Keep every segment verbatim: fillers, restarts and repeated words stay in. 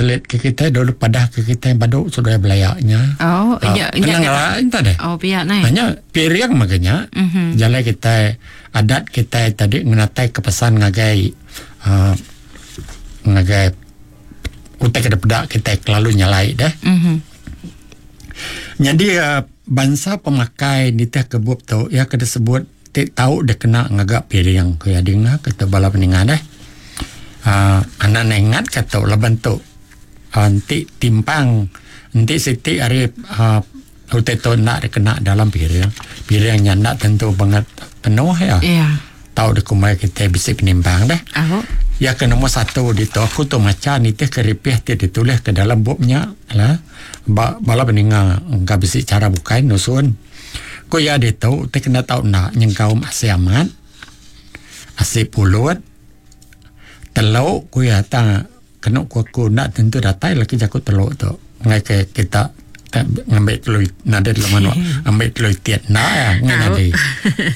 Translate ke kita dulu padah ke kita badu sudah belayaknya. Oh, ya, ya, ya, entah deh. Oh, pihak nai. Hanya piring makanya. Mm-hmm. Jalai kita adat kita tadi ngenatai ke pesan ngagai uh, ngagai utai ke pedak kita kelalu nyalai deh. Mm-hmm. Jadi uh, bangsa pemakai nitih ke bup tu ya kena sebut ti tau dia kena ngagak piring ke ya dengar kita bala peningan deh. Uh, anak ingat kata lah bentuk nanti uh, timpang nanti siti hari uh, utai tu nak dikena dalam piring piringnya nak tentu banget penuh ya yeah. Tahu di kumai kita bisa penimbang deh. Oh. Ya ke nombor satu di tu aku tu macam nitih keripih ti ditulis ke dalam bubnya lah ba, bala peninga engka bisi cara bukai nusun ko ya di tu te kena tahu nak nyengkaum asi amat asi pulut teluk ku ya ta kena ku aku nak tentu datai lagi jaku teluk tu ngai ke kita ngambil telur nada telur manuk ambil telur tiat nak ya ngai jadi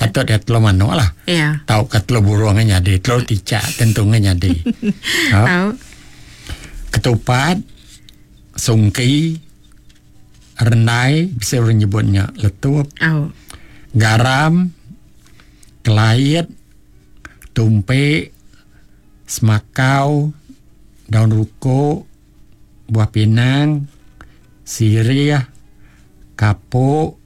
patut dia telur manuk lah yeah. Tau ke telur burung ngai jadi telur ticak tentu ngai jadi ha. Ketupat sungki renai bisa orang nyebutnya letup oh. Garam kelait tumpek semakau daun ruko buah pinang sirih kapuk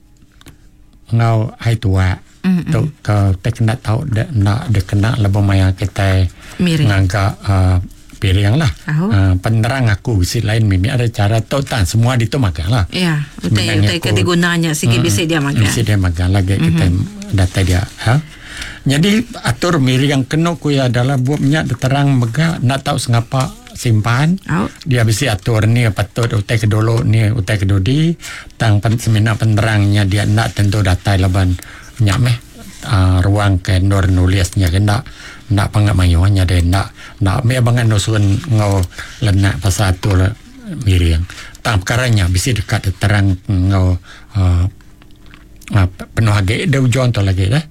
ngau ai tua mm-hmm. Tu ke te kena tau de nak de kena lebo maya kita ngangka uh, piring lah. Oh. Uh, penerang aku bisi lain mimi ada cara tu tan semua di tu makan lah. Ya, utai utai ke digunanya sikit bisi dia makan. Bisi dia makan lagi mm-hmm. kita data dia. Ha? Jadi atur miring yang kena ku ya adalah buat minyak terang megah nak tahu sengapa simpan. Oh. Dia bisi atur ni patut utai ke dulu ni utai ke dudi tang pen, semina penerangnya dia nak tentu datai laban minyak meh uh, ruang ke nur nulisnya kena nak pangat mayuhnya dia nak nak me bangan nusun ngau lenak pasal atur miring tang perkaranya bisi dekat terang ngau uh, uh, penuh agi dia ujung tu lagi dah.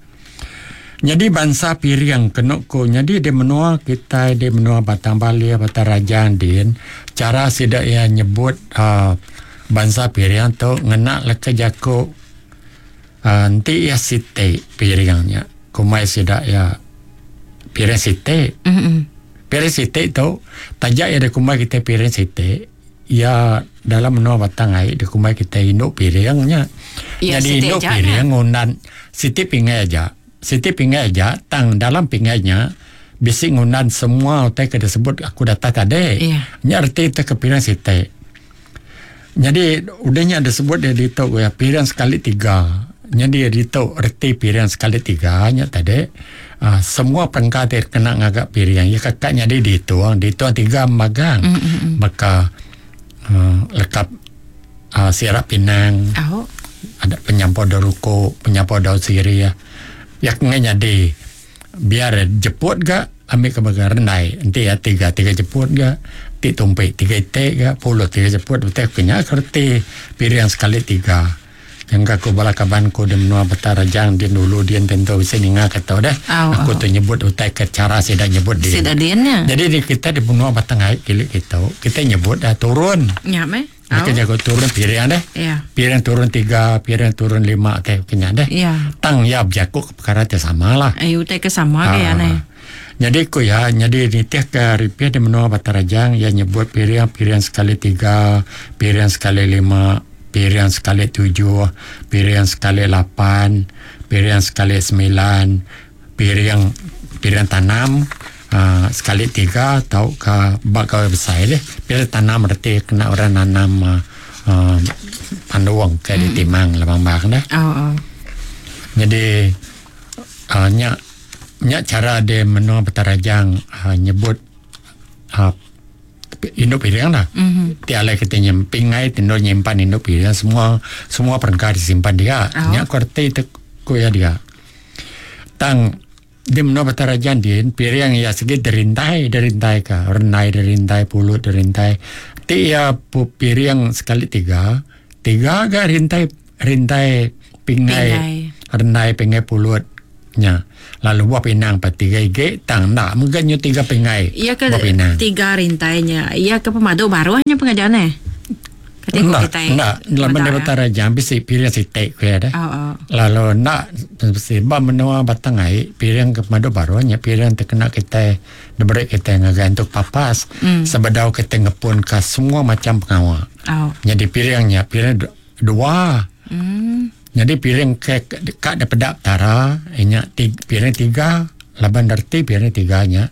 Jadi bangsa piring kena ko jadi di menua kita di menua Batang Bali Batang Rajang din cara sidak ia nyebut uh, bangsa piring tu ngena leka jako uh, nanti ia site piringnya kumai sidak ia piring site. Mm-hmm. Piring site tu tajak ia di kumai kita piring site ia dalam menua Batang Ai di kumai kita induk piringnya. Ya, jadi induk piring ngundan site pingai aja. Siti pingai aja tang dalam pingainya bisi ngundan semua utai ke disebut aku data tadi. Yeah. Nya erti te ke piring siti. Jadi udahnya disebut dia ditok ya piring sekali tiga. Jadi dia ditok erti piring sekali tiga nya tadi. Uh, semua perengka ter kena ngagak piring. Ya kakaknya dia dituang, dituang tiga magang. Mm-hmm. Maka uh, lekap uh, sirap pinang. Oh. Ada penyampau daun ruko, penyampau daun sirih ya. Ya kena jadi biar jeput gak ambil ke bagian rendai nanti ya tiga tiga jeput gak ti tumpik tiga itik gak puluh tiga jeput betul kena kerti piring sekali tiga yang aku bala kabanku di menua Batang Rajang dia dulu dia tentu bisa ninga kata dah oh, aku oh. tu nyebut utai ke cara saya dah nyebut dia Sida diannya. Jadi di kita di menua Batang Ai kilik kita kita nyebut dah turun ya meh. Mereka oh. jago turun piring deh. Yeah. Piring turun tiga, piring turun lima teh kena deh. Yeah. Tang ya jago perkara teh sama lah. Ayu teh ke sama ke ya neh. Jadi ku ya, jadi nitih ke ripih di menua Batang Rajang ya nyebut piring piring sekali tiga, piring sekali lima, piring sekali tujuh, piring sekali lapan, piring sekali sembilan, piring piring tanam. Uh, sekali tiga atau ke bak kau besar deh. Bila tanam berarti kena orang nanam uh, uh, panduang ke di timang lebang bang dah. Oh, oh. Jadi uh, nyak nyak cara dia menua Batang Rajang uh, nyebut uh, induk piring lah. Mm-hmm. Tiada kita nyem pingai tindor nyimpan induk piring semua semua perengka disimpan dia. Oh. Nyak kuarti itu ku ya dia. Tang di menua Batang Rajang din piring ya segi derintai derintai ka renai derintai pulut derintai ti ya piring sekali tiga tiga ga rintai rintai pingai, pingai. Renai pingai pulut Nya. Lalu buah pinang pa tiga igi tang enda mega nyu tiga pingai. Iya ke buah pinang. Tiga rintainya. Iya ke pemadu baruhnya pengajar ne. Kati ko Enda, kitai. enda. Laban meda, dia Batang Rajang bisi piring siti ku iya deh. Oh, oh. Lalu enda bisi ba menua Batang Ai piring ke pemadu baruh nya piring ti kena kitai diberi kitai ngagai entuk papas Mm. sebedau kitai ngepun ka semua macam pengawa. Oh. Jadi piring nya piring du- dua. Hmm. Jadi piring ke ka daripada Petara nya tiga, piring tiga laban reti piring tiga nya.